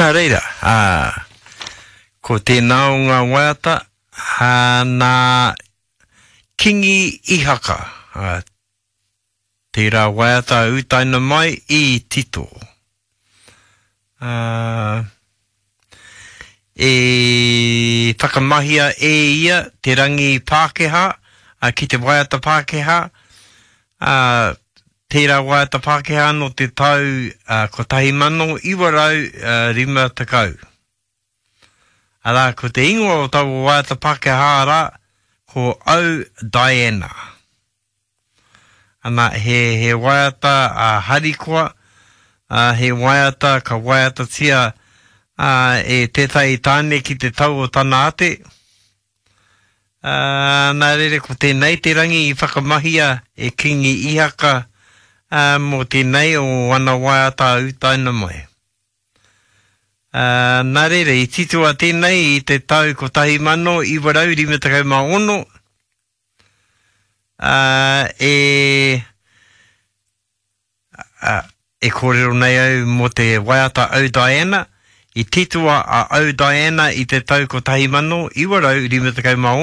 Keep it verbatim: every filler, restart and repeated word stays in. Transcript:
Nā reira, ā, ko tēnā o ngā waiata, ā, nā Kingi Ihaka, ā, tērā waiata utaina mai i tito. Ā, e whakamahia e ia te rangi Pākehā, ā, ki te waiata Pākehā, ā, tērā waiata Pākehā nō te tau ā, kotahi mano iwa rau rima tekau. Arā, ko te ingoa o taua waiata Pākehā rā, ko Oh Diana. Ana, he, he waiata a harikoa, ā, he waiata ka waiatatia ā, e tētahi tāne ki te tau o tana ate. Ā, nā reira, ko tēnei te rangi i whakamahia e Kingi Ihaka ā, mō tēnei o ana waiata utaina mai. Ā, nā reira, i titoa tēnei i te tau kotahi mano iwa rau rima tekau mā ono, ā, e, ā, e kōrero nei au mō te waiata Oh Diana, i titoa a Oh Diana i te tau kotahi mano iwa rau rima tekau mā ono,